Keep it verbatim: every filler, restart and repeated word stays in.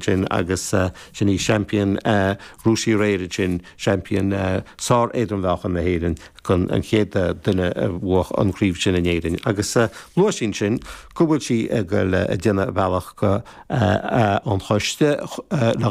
Sin agus uh, sin í seaimpín uh, Rúisí réir sin seaimpín uh, sár éadrom-mheáchan na hÉireann chun an chéad duine a bhuaigh an chraobh sin in Éirinn. Agus uh, luaigh sí sin go bhfuil sí ag dul ag déanamh bealach go uh, uh, an choiste uh, le